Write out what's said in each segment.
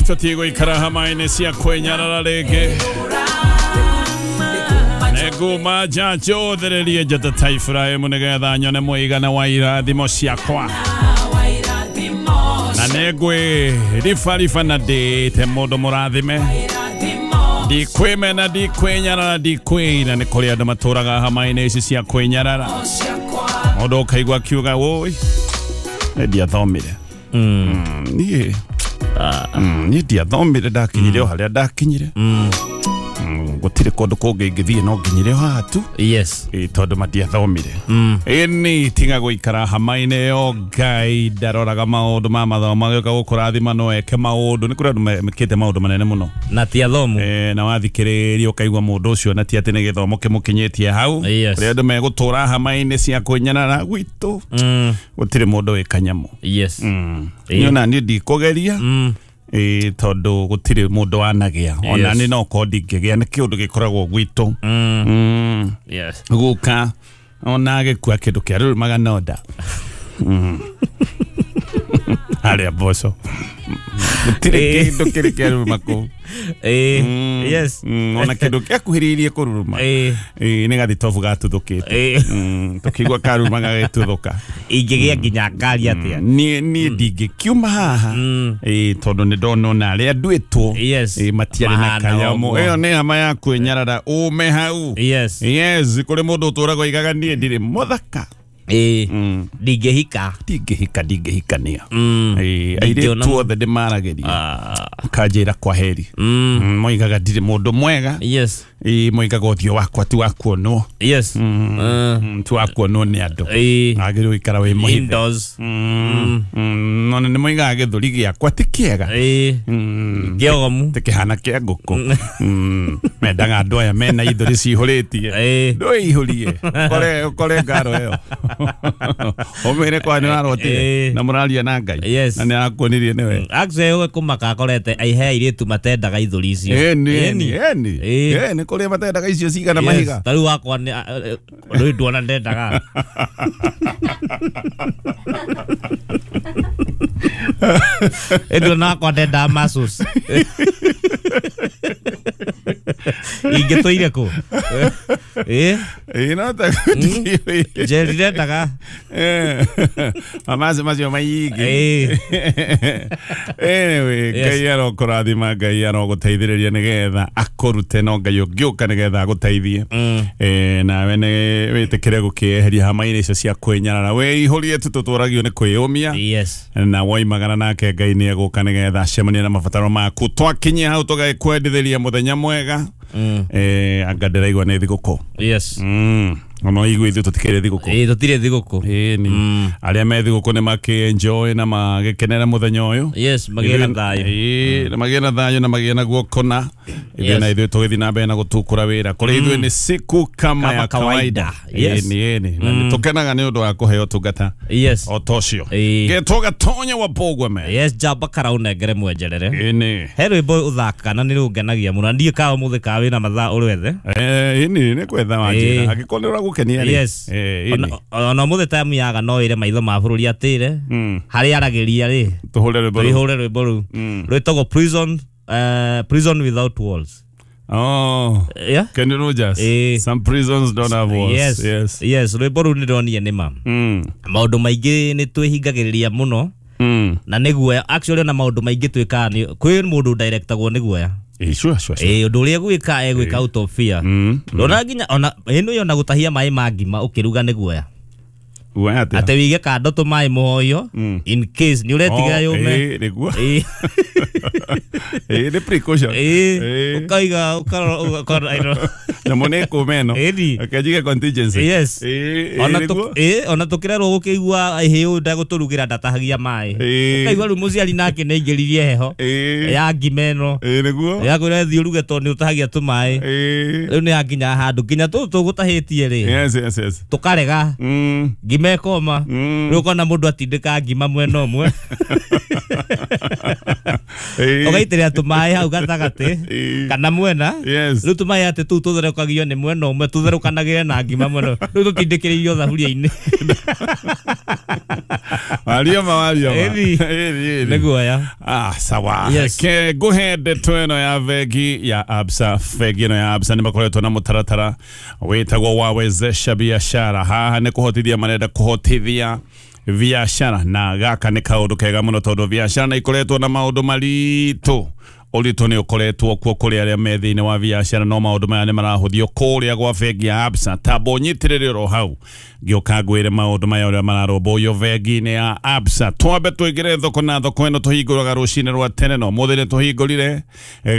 Tũtigũikara hama-inĩ cia kwĩnyarara rĩngĩ. Nĩnguma nja njũthĩrĩrie njata ta Iburahĩmu nĩgetha nyone mũigana wa irathimo ciakwa. Na nĩngwĩribariba na ndĩte mũndũ mũrathime. Ndikwĩmena, ndikwĩnyarara, ndikwĩina. Nĩ kũrĩ andũ matũraga hama-inĩ ici cia kwĩnyarara. Mũndũ ũkaigua akiuga wũi nĩ ndiathomire. Niĩ niĩ ndiathomire, ndakinyire o harĩa ndakinyire. Gũtirĩ kũndũ kũngĩ ingĩthiĩ no nginyire o haha tu. Yes. Ĩ, tondũ matiathomire. Ĩni tiga gũikara hama-inĩ ĩyo. Ngai ndaroraga maũndũ ma mathomo, agĩũka gũkũrathima no eke maũndũ. Nĩ kũrĩ andũ mekĩte maũndũ manene mũno na ti athomu. Na wathikĩrĩria ũkaigua mũndũ ũcio na ti atĩ nĩ gĩthomo kĩmũkinyĩtie hau. Yes. Kũrĩ andũ megũtũra hama-inĩ cia kwĩnyarara gwitũ. Gũtirĩ mũndũ wĩ kanyamũ. Yes. Niĩ ona niĩ ndikũgeria. Ĩ, tondũ gũtirĩ mũndũ wanagĩa ona Yes. nĩ no korwo ndingĩgĩa, nĩ kĩũndũ gĩkoragwo gwitũ. Yes. Guka ona agĩkua kĩndũ kĩa rũrumaga nonda harĩa mboco gũtirĩ kĩndũ kĩrĩ kĩa ruruma kũu. Yes. Ona kĩndũ gĩakuhĩrĩirie kũruruma. Ĩ, nĩ gathitobu gatuthũkĩte. Tũkĩigua karuruma gagĩtuthũka. Ingĩgĩa nginya ngari atĩa? Niĩ ndingĩkiuma haha. Ĩ, tondũ nĩ ndona ona arĩa nduĩtwo Yes. ĩ, matiarĩ na Mahana kanyamũ. ũguo. Ĩyo nĩ hama ya kwĩnyarara, ume hau. Yes. Yes, kũrĩ mũndũ ũtũraga oigaga niĩ ndirĩ mũthaka. Ndingĩhika. Ndingĩhika, ndingĩhikania. Ĩ, Ndingĩona airĩtu othe ndĩmaragĩria kanjĩra kwa heri. Moigaga ndirĩ mũndũ mwega. Yes. Ĩ, moigaga ũthiũ wakwa ti wa kuonwo. Yes. Ti wa kuonwo nĩ andũ. Agĩrĩirwo gũikara wĩ mũhithe. Indoors. Ona nĩ moigaga gĩthũri gĩakwa ti kĩega. Kĩogomu. Tikĩhana kĩa ngũkũ. Mendaga andũ aya mena ithũri cihũrĩtie. Ndũĩihũrie ũkore ũkore ngaro ĩyo ũmĩre kwa nĩ warotire na mũraria na Ngai Yes. na nĩ arakuonirie nĩwe. Actually we kũmaka akorete aihe airĩtu matendaga ithũri icio. Ĩni. Ĩni. Ĩni. Ĩ, nĩ kũrĩ matendaga icio cigana Yes. mahiga. Ta rĩu wakwa rĩu nduona ndendaga. Nduona wakwa ndendaga muscles. Ingĩtũire kũ? Ĩ, no ta Njeri ndendaga. Mamaci macio maingĩ. Anyway, Yes. Ngai arokũrathima, Ngai arogũteithĩrĩria nĩgetha akũrute, no Ngai ũngĩũka nĩgetha agũteithie. Nawe nĩ wĩtĩkĩre gũkĩeheria hama-inĩ icio cia kwĩnyarara, wĩihũrie tu, tũtũragio nĩ kwĩyũmia. Yes. Na woimagara nake Ngai nĩ egũka nĩgetha acemanie na mabataro maku. Twakinyia hau tũgagĩkwendithĩria mũthenya mwega. Anga ndĩraigua nĩ thigũkũ. Yes. Ona igua ithuĩ tũtikĩrĩ thigũkũ. Ĩ, tũtirĩ thigũkũ. Ĩni arĩa me thigũkũ nĩ makĩ-enjoy na magĩkenera mũthenya ũyũ. Yes, magĩe na thayũ. Ĩĩ, na magĩe na thayũ na magĩe na guoko na ithuĩ Yes. na ithuĩ tũgĩthiĩ na mbere na gũtukũra wĩra. Kũrĩ ithuĩ nĩ siku kama Kama ya kawaida. kawaida. Yes. Ĩni, ĩni, na nĩ tũkenaga nĩ ũndũ wa kũheo ũtungata Yes. o ta ũcio. Getwo Gatonya wa Bogweme. Yes, njamba karaũnengere mwenjerere. Ĩni. He rwĩmbo ũthakaga na nĩ rũngenagia mũno. Na ndiũĩ kana ũmũthĩ kana wĩna mathaa ũrwethe. Ĩni nĩ kwetha wanjĩra angĩkorwo nĩ ũragũkenia rĩ. Yes. Ĩni. Ona ũmũthĩ time yaga no ĩre maitho ma bũrũri atĩre harĩa aragĩria rĩ Tũhũre rwĩmbo rũu. tũihũre rwĩmbo rũu rwĩtagwo prison, prison without walls. Oh. Yeah? Kenny Rogers. Some prisons don't have walls. Yes. Yes. Yes, rwĩmbo rũu nĩ ndonire nĩ ma maũndũ maingĩ nĩ twĩhingagĩrĩria mũno na nĩ guoya. Actually ona maũndũ maingĩ twĩkaga nĩ kwĩ mũndũ directagwo nĩ guoya. Sure. Ĩ, ũndũ ũrĩa egwĩka egwĩka out of fear. Ndona nginya ona ĩno ĩyo na gũtahia maĩ ma ngima ũkĩruga nĩ guoya. Guoya atĩa? Atĩ wĩige kando tũmaĩ mũhoyo in case nĩ ũretiga Oh, yũme. Nĩguo. Nĩ precaution. Ũkaiga ũkarora ũkarora. Nyamũ nĩ ĩkũma ĩno. Ĩni. Reke njige contingency. Yes. Ĩ, nĩguo. Ona tũkĩrerwo gũkĩigua hĩ ũyũ ndegũtũrugĩra ndatahagia maĩ. Ũkaigua rĩu mũciari nake nĩ aingĩririe heho ya ngima ĩno. Nĩguo. Ya kwĩra thiĩ ũruge tondũ nĩ ũtahagia tũmaĩ. Rĩu nĩ yakinya handũ nginya tũtũ tũgũtahĩtie rĩ Yes. tũkarega. Ngima. Ngima ĩkoma. Rĩu ũkona mũndũ atindĩka ngima mwena ũmwe. Ũgaitĩrĩra tũmaĩ hau gatagatĩ kana mwena. Yes. Rĩu tũmaĩ atĩ tũu tũtherũkagio nĩ mwena ũmwe tũtherũkanagĩre na ngima mwena ũmwe. Rĩu tũtindĩkĩrĩirio thaburia-inĩ. Warioma warioma. Ĩni. Ĩni, ĩni. Nĩ guoya. Ah, sawa. Yes. Ke nguhe ndeto ĩno ya bengi ya Absa. Bengi ĩno ya Absa nĩ makoretwo na mũtaratara wĩtagwo wa wezesha biashara. Haha nĩ kũhotithia marenda kũhotithia biashara, na gaka nĩ kaũndũ kega mũno tondũ biashara nĩ ikoretwo na maũndũ maritũ. Ũritũ nĩ ũkoretwo kuo kũrĩ arĩa me thĩinĩ wa biashara, no maũndũ maya nĩ marahũthio kũrĩa gwa bengi ya Absa. Tamba ũnyitĩrĩre oro hau ngĩũka ngwĩre maũndũ maya ũrĩa mararũmbũiyo bengi-inĩ ya Absa. Twambe tũingĩre thoko, na thoko ĩno tũhingũraga rũcinĩ rwa tene, no mũthĩ nĩ tũhingũrire.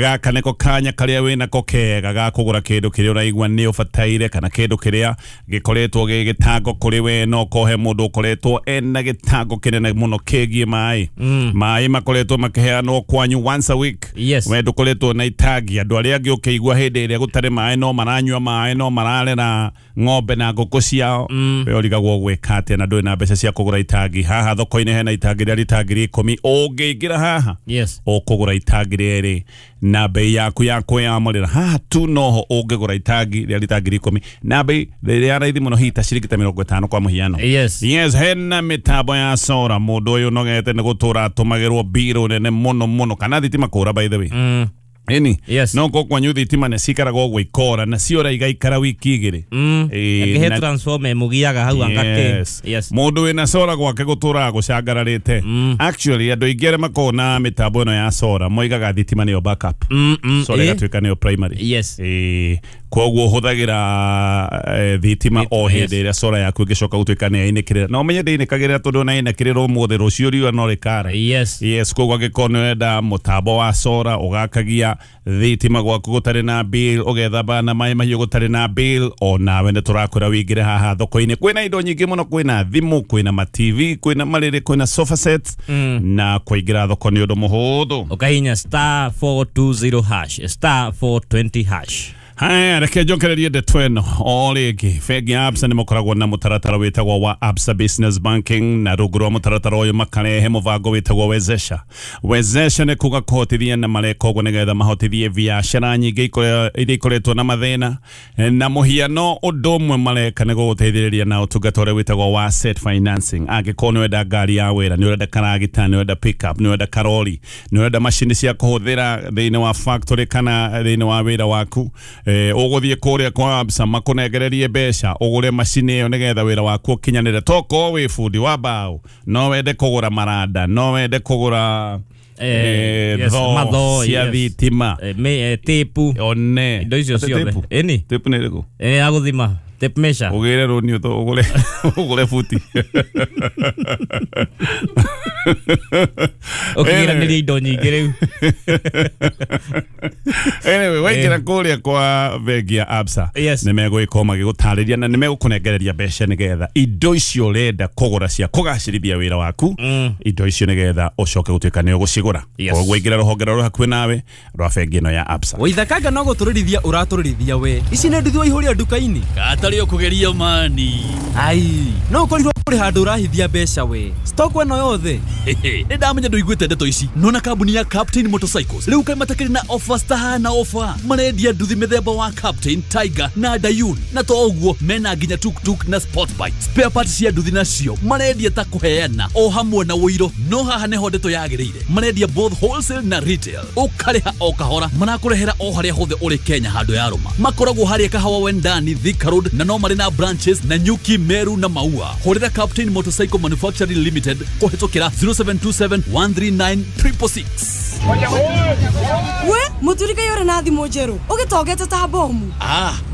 Gaka nĩko kanya karĩa wĩnako kega ga kũgũra kĩndũ kĩrĩa ũraigua nĩ ũbataire, kana kĩndũ kĩrĩa gĩkoretwo gĩ gĩtango kũrĩ we, no kohe mũndũ ũkoretwo ena gĩtango kĩnene mũno kĩgiĩ maĩ. Maĩ makoretwo makĩheanwo kwanyu once a week. Yes. We ndũkoretwo na itangi. Andũ arĩa angĩ ũkĩigua hĩndĩ ĩrĩa gũtarĩ maĩ no maranyua maĩ, no mararera ng'ombe na ngũkũ ciao. We ũrigagwo gwĩka atĩa na ndũrĩ na mbeca cia kũgũra itangi. Haha thoko-inĩ hena itangi rĩa rita 10,000. Ũngĩingĩra haha Yes. ũkũgũra itangi rĩrĩ na bei yaku ya kwĩyamũrĩra. Haha tu noho ũngĩgũra itangi rĩa rita 10,000 na bei rĩrĩa raithi mũno, hihi ta ciringi ta 50 kwa mũhiano. Yes. Yes, hena mĩtambo ya sora. Mũndũ ũyũ ũnogete nĩ gũtũra atũmagĩrwo mbirũ nene mũno mũno, kana thitima kũra, by the way. Ĩni. Yes. No ko kwanyu thitima nĩ cikaraga ũguo ikora, na ciora igaikara wiki igĩrĩ. Ĩĩ, Angĩhe transformer ĩmũgiaga hau anga kĩ. Yes. Yes. Mũndũ wĩna sora gwake gũtũraga gũcangararĩte. Actually andũ aingĩ arĩa makoragwo na mĩtambo ĩno ya sora moigaga thitima nĩyo backup. Sora ĩgatuĩka nĩyo primary. Yes. Ĩĩ, koguo hũthagĩra thitima o hĩndĩ ĩrĩa sora yaku ĩngĩcoka gũtuĩka nĩ yainĩkĩrĩra, na ũmenye ndĩinĩkagĩrĩra tondũ ona yainĩkĩrĩra ũmũthĩ, rũciũ riũa no rĩkara. Yes. Yes, koguo angĩkorwo nĩ ũrenda mũtambo wa sora ũgakagia thitima gwaku gũtarĩ na bill, ũgethamba na maĩ mahiũ gũtarĩ na bill, o nawe nĩ tũrakwĩra wĩingĩre haha thoko-inĩ. Kwĩna indo nyingĩ mũno, kwĩna thimũ, kwĩna ma TV, kwĩna marĩrĩ, kwĩna sofa sets, na kũingĩra thoko nĩ ũndũ mũhũthũ. Ũkahihinya star 420 hash, star 420 hash. Haya, reke njokererie ndeto ĩno o rĩngĩ. Bengi ya Absa nĩ makoragwo na mũtaratara wĩtagwo wa Absa Business Banking, na rungu rwa mũtaratara ũyũ makarehe mũbango wĩtagwo Wezesha. Wezesha nĩ kuga kũhotithia, na mareka ũguo nĩgetha mahotithie biacara nyingĩ iria ikoretwo na mathĩna. Na mũhiano ũndũ ũmwe mareka nĩ gũgũteithĩrĩria na ũtungata ũrĩa wĩtagwo wa asset financing. Angĩkorwo nĩ ũrenda ngari ya wĩra, nĩ ũrenda karagita, nĩ ũrenda pickup, nĩ ũrenda karori, nĩ ũrenda macini cia kũhũthĩra thĩinĩ wa factory kana thĩinĩ wa wĩra waku, ũgũthiĩ kũrĩa kwa Absa makũnengererie mbeca ũgũre macini ĩyo nĩgetha wĩra waku ũkinyanĩre. Tokorwo wĩ bundi wa mbaũ, no wende kũgũra maranda, no wende kũgũra Yes, thoo mathoo, cia yes. thitima, Tape one indo icio Ate ciothe. tape? Ĩni. Tape nĩ ĩrĩkũ? Ya gũthima, tape measure. Ũgĩre rũni ũgũre ũgũre buti. Ũkĩgiranĩria indo nyingĩ rĩu. Anyway, waingĩra kũrĩa kwa bengi ya Absa, Yes. nĩ megũgĩkorwo magĩgũtarĩria na nĩ megũkũnengereria mbeca nĩgetha indo icio ũrenda kũgũra cia kũgacĩrithia wĩra waku, indo icio nĩgetha ũcoke gũtuĩka nĩ ũgũcigũra. Yes. Koguo ingĩra rũhonge rũrĩa hakuhĩ nawe rwa bengi ĩno ya Absa. Waithakanga no gũtũrĩrithia ũratũrĩrithia we. Ici nĩ nduthi waihũria nduka-inĩ. Gatarĩ ũkũgeria mani. Ai, no ũkorirwo kũrĩ handũ ũrahithia mbeca we. Stock ĩno yothe. Nĩ ndamenya ndũiguĩte ndeto ici. Nona kambuni ya Captain Motorcycles rĩu kaĩ matakĩrĩ na offers tahana offer. Marendia nduthi mĩthemba wa Captain, Tiger na Dayun, na to ũguo mena nginya tuktuk na sport bike. Spare parts cia nduthi nacio marendia ta kũheana o hamwe na ũiro. No haha nĩho ndeto yagĩrĩire, marendia both wholesale na retail. Ũkarĩha o kahora, marakũrehera o harĩa hothe ũrĩ Kenya handũ ya rũma. Makoragwo harĩa Kahawa Wendani, Thika Road, na no marĩ na branches na Nyuki, Meru na Maua. Hũrĩra Captain Motorcycle Manufacturing Limited kũhĩtũkĩra 0727 139 666. We muturika yore na thimũ njerũ ũgĩtongete ta bomu.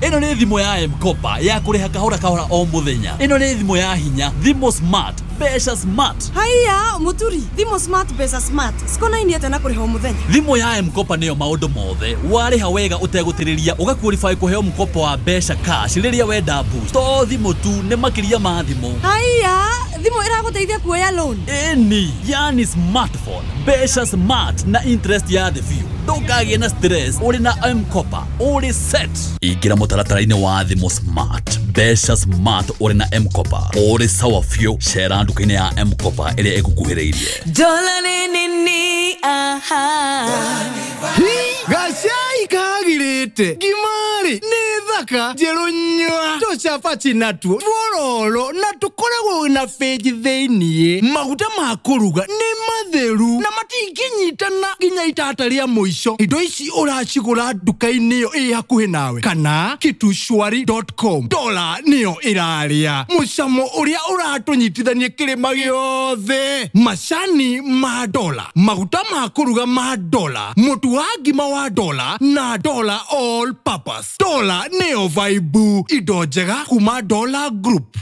Ĩno nĩ thimũ ya M-Kopa ya kũrĩha kahora kahora o mũthenya. Ĩno nĩ thimũ ya hinya, thimũ smart, mbeca smart. Haiya muturi, thimũ smart, mbeca smart cikonainie atĩa na kũrĩha o mũthenya? Thimũ ya M-Kopa nĩyo maũndũ mothe. Warĩha wega ũtegũtĩrĩria, ũgaqualify kũheo mkopo wa mbeca cash rĩrĩa wenda boost. To thimũ tu, nĩ makĩria ma thimũ. Haiya, Thimũ ĩragũteithia kuoya loan. Ĩni, yani smartphone, mbeca smart na interest ya thĩ biũ. Ndũkagĩe na stress ũrĩ na M-Kopa, ũrĩ set. Ingĩra mũtaratara-inĩ wa thimũ smart, mbeca smart ũrĩ na M-Kopa, ũrĩ sawa biũ. Cera nduka-inĩ ya M-Kopa ĩrĩa ĩgũkuhĩrĩirie. Dola ni ni aha. Gacai kagirĩte ngimari nĩ thaka njerũ nyua tũcabaci natuo twororo na tũkoragwo na bĩnji thĩiniĩ. Maguta ma kũruga nĩ matheru na matingĩnyitana nginya itata rĩa mũico. Indo ici ũracigũra nduka-inĩ ĩyo ĩ hakuhĩ nawe kana kitushwari.com. Dola nĩyo ĩrarĩa mũcamo ũrĩa ũratũnyitithania kĩrĩma gĩothe. Macani ma dola, maguta ma kũruga ma dola, mũtu wa ngima wa dola na dola all purpose. Dola nĩyo vaibu, indo njega kuma Dola Group.